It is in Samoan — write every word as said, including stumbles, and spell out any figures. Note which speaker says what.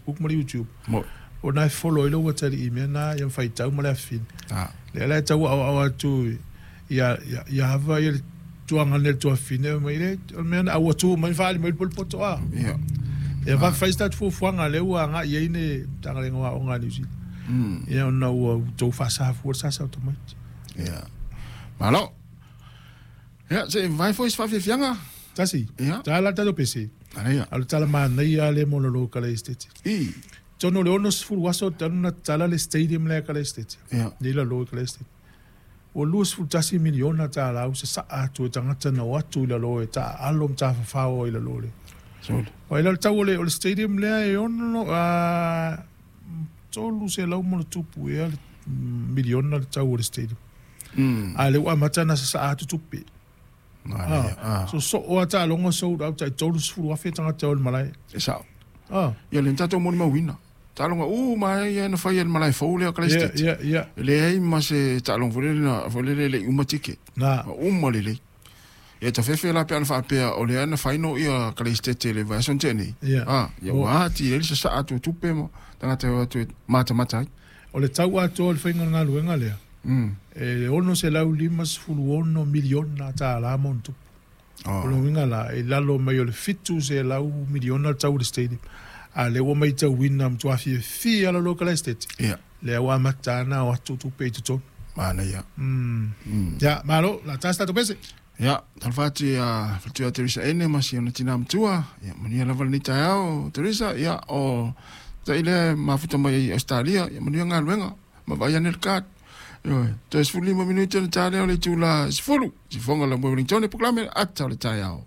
Speaker 1: Facebook ma le YouTube.
Speaker 2: Mo.
Speaker 1: Ona e follow ai lou atalii i mea na ia ma faitau ma le afafine.
Speaker 2: Ah.
Speaker 1: Lea la e tau aoao atu ia ia ia ava ia le tuaga nei le tuafafine mai le o le mea na aua tu mai faali mai le polepoto a.
Speaker 2: Ia.
Speaker 1: Ia faafai se tatou fuafuaga lea ua agai ai le Matagaluega o Aoga a Niu Sila.
Speaker 2: Mm.
Speaker 1: Ia ona ua outou faasafua le sasa o tamaiti.
Speaker 2: Ia. Malo. Ia, se i vae foi se faafiafiaga.
Speaker 1: Tasi.
Speaker 2: Ia.
Speaker 1: Tala tatou pese.
Speaker 2: Ala ia.
Speaker 1: A o le tala manaia lea mo lalo o Kalaesetete.
Speaker 2: I.
Speaker 1: Tonu o le ono sefulu aso talu na tatala le stadium lea Kalaesetete.
Speaker 2: Ia.
Speaker 1: Nei lalo i Kalaesetete. Ua lua sefulu tasi miliona tālā ua sasaa atu e tagata na o atu i lalo e taaalo ma tafafao ai i lalo le.
Speaker 2: Sole.
Speaker 1: Ua ila le tau o le, o le stadium lea e ono, a, tolu selau ma ona tupu ea le miliona le tau o le stadium.
Speaker 2: Mm.
Speaker 1: A le ua amata na sasaa atu tupe.
Speaker 2: Ala ia. Ah.
Speaker 1: So so o taaloga sold out tai tolu sefulu afe tagata o le malae.
Speaker 2: E sao.
Speaker 1: Ah.
Speaker 2: Ia le tatou molimauina. Taaloga uma ia na fai e le malae fou lea o
Speaker 1: Ia,
Speaker 2: Kalaesetete.
Speaker 1: ia, ia.
Speaker 2: E leai ma se taaloga foi lele na foi lele e le i uma tike.
Speaker 1: Na.
Speaker 2: Ma uma lelei. Ia tafefe la pe ana faapea o lea na faino ia Kalaesetete le vaiaso na tea nei.
Speaker 1: Ia.
Speaker 2: Ah, ia ua ati ai le sasaa atu o tupe ma tagata e o atu e matamata ai.
Speaker 1: O le tau atoa o le faiga o le galuega lea.
Speaker 2: Mm.
Speaker 1: E ono selau lima sefulu ono miliona tālā ma ona tupu.
Speaker 2: Oh.
Speaker 1: O le uiga la, e lalo mai o le fitu selau miliona le tau o le stadium. A lea ua matauina matua fiafia lalo o Kalaesetete.
Speaker 2: Ia.
Speaker 1: Lea ua amata ana o atu tupe i totonu.
Speaker 2: Manaia.
Speaker 1: Mm.
Speaker 2: Mm.
Speaker 1: Ia, malo, la tasi tatou pese.
Speaker 2: Ia, talofa atu ia faletua Teresa Ene ma si ona tina matua. Ia, manuia lava lenei taeao, Teresa. Ia, o tai lea mafuta mai i Australia. Ia, manuia galuega. Ma vaai ane le card. Ioe, toe sefulu lima minute ona ta lea o le itula sefulu. Sifoga la moe Wellington e polokalame ata o le taeao.